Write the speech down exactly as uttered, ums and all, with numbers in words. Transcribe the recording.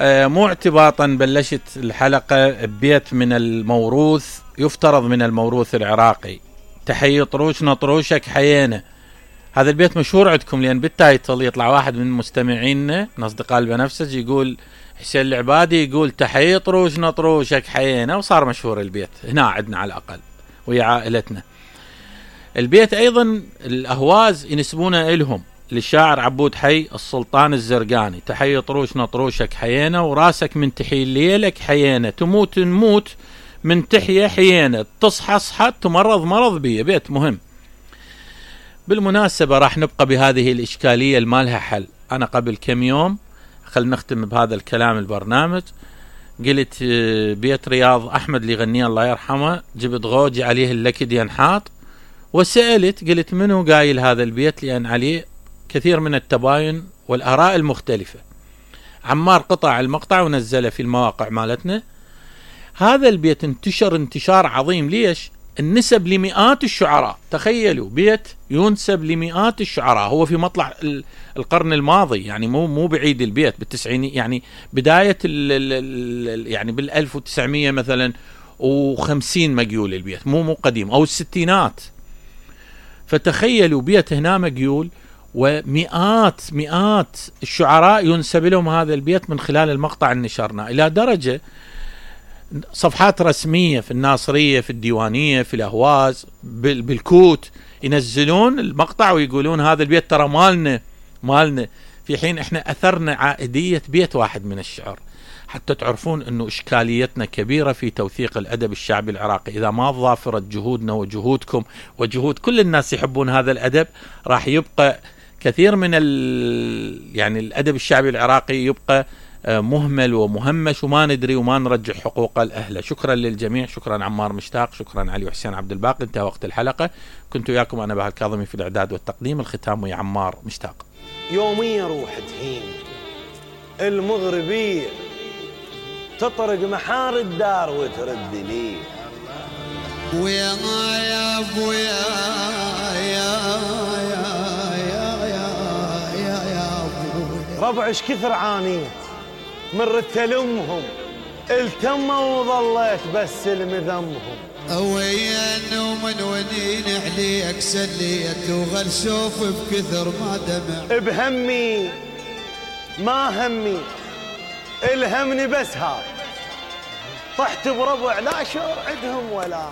مو اعتباطا بلشت الحلقة ببيت من الموروث، يفترض من الموروث العراقي، تحيي طروش نطروشك حيينا. هذا البيت مشهور عندكم لأن بالتايتل يطلع واحد من مستمعينا من أصدقاء البنفسج يقول حسين العبادي يقول تحيي طروش نطروشك حيينا، وصار مشهور البيت هنا عندنا على الأقل ويا عائلتنا. البيت أيضا الأهواز ينسبونه إلهم، للشاعر عبود حي السلطان الزرقاني، تحيي طروش نطروشك حيينا وراسك من تحي ليلك حيينا، تموت نموت من تحيا حيينا، تصحى صحت تمرض مرض بيه. بيت مهم. بالمناسبة راح نبقى بهذه الإشكالية المالها حل. أنا قبل كم يوم خل نختم بهذا الكلام البرنامج، قلت بيت رياض أحمد اللي يغنيه الله يرحمه، جبت غوجي عليه اللكد ينحاط، وسألت قلت منو قايل هذا البيت، لأن عليه كثير من التباين والآراء المختلفة. عمار قطع المقطع ونزله في المواقع مالتنا. هذا البيت انتشر انتشار عظيم. ليش؟ النسب لمئات الشعراء. تخيلوا بيت ينسب لمئات الشعراء، هو في مطلع القرن الماضي، يعني مو مو بعيد البيت بالتسعيني، يعني بداية ال ال يعني بالألف وتسعمية مثلا وخمسين مقيول البيت، مو مو قديم، أو الستينات. فتخيلوا بيت هنا مقيول ومئات مئات الشعراء ينسب لهم هذا البيت من خلال المقطع اللي نشرنا، إلى درجة صفحات رسمية في الناصرية، في الديوانية، في الأهواز، بالكوت ينزلون المقطع ويقولون هذا البيت ترى مالنا مالنا، في حين احنا أثرنا عائدية بيت واحد من الشعر. حتى تعرفون أنه إشكاليتنا كبيرة في توثيق الأدب الشعبي العراقي. إذا ما ضافرت جهودنا وجهودكم وجهود كل الناس يحبون هذا الأدب، راح يبقى كثير من ال يعني الأدب الشعبي العراقي يبقى مهمل ومهمش، وما ندري وما نرجع حقوقه لأهله. شكرا للجميع، شكرا عمار مشتاق، شكرا علي وحسين عبد الباقي. انتهى وقت الحلقة. كنت وياكم أنا بهاء الكاظمي في الإعداد والتقديم، الختام ويا عمار مشتاق. يوميا روح تهين المغربية، تطرق محار الدار وترد لي ويا يا ابويا يا يا يا يا يا يا ابويا ربع ايش كثر عانيت من رتلمهم، التموا وظليت بس المذمهم. وين ومن ونين عليك سليت وغل شوف بكثر ما دمع بهمي ما همي الهمني بس هذا، طحت بربع لا شعور عندهم ولا